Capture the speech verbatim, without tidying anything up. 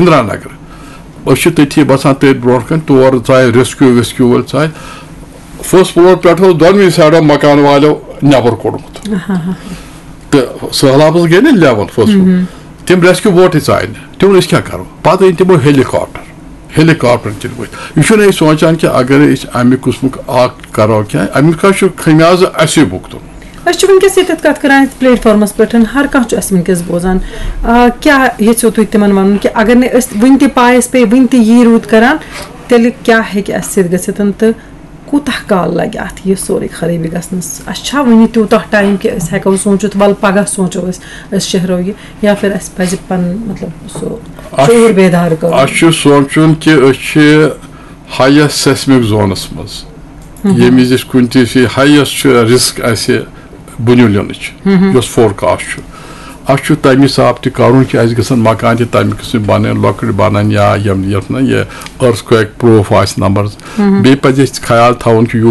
اِندرا نگر۔ أسۍ چھِ تٔتھی بسان، تٔتھۍ برونٛٹھ کَنۍ، تور ژایہِ ریسکیو ویسکیو وٲلۍ ژایہِ۔ فٔسٹ فلور پٮ۪ٹھ اوس دۄنوٕنی سایڈو مکان والیو نٮ۪بر کوٚڑمُت۔ تہٕ سہلابس گٔے نہ لیول فٔسٹ فلور۔ تِم ریسکیو بوٹٕے ژایہِ نہٕ۔ تِم ووٚن، أسۍ کیٛاہ کرو؟ پتہٕ أنۍ تِمو ہیلی کاپٹر۔ ہیلی کاپٹر کِنۍ ؤتھۍ۔ یہِ چھُنہٕ أسۍ سونٛچان کہِ اگر أسۍ اَمہِ قٕسمُک اکھ کرو کینٛہہ، اَمیُک ہا چھُ خمیازٕ اَسے بھُگتُن۔ أسۍ چھِ وٕنکیٚس ییٚتٮ۪تھ کَتھ کَران یَتھ پلیٹ فارمَس پٮ۪ٹھ، ہر کانٛہہ چھُ اَسہِ وٕنکیٚس بوزان۔ آ، کیٛاہ یژھِو تُہۍ تِمن وَنُن کہِ اگر نہٕ أسۍ وٕنہِ تہِ پایَس پیٚیہِ، وٕنہِ تہِ یی روٗد کَران، تیٚلہِ کیٛاہ ہیٚکہِ اَسہِ سۭتۍ گٔژھِتھ تہٕ کوٗتاہ کال لَگہِ اَتھ یہِ سورُے خرٲبی گژھنَس؟ اَسہِ چھا وٕنہِ تیوٗتاہ ٹایم کہِ أسۍ ہٮ۪کو سوٗنٛچِتھ، وَلہٕ پَگاہ سوٗنٛچو أسۍ، أسۍ شہرو یہِ، یا پھر اَسہِ پَزِ پَنُن، مطلب، سُہ اَتھ شعوٗر بیدار کَرُن؟ اَسہِ چھُ سونٛچُن کہِ أسۍ چھِ ہایسٹ سیسمک زونس منٛز، ییٚمہِ وِزِ أسۍ کُنہِ تہِ جایہِ ہایسٹ چھُ رسک اَسہِ بُنیُل یِنٕچ، یۄس فورکاسٹ چھُ۔ اَسہِ چھُ تَمہِ حساب تہِ کَرُن کہِ اَسہِ گژھن مکان تہِ تَمہِ قٕسمٕکۍ بَنٕنۍ، لۄکٕٹۍ بَنَن یا یِم یَتھ نہ یہِ ارتھ کویک پروف آسہِ نمبر۔ بیٚیہِ پَزِ اَسہِ خیال تھاوُن کہِ یوٗت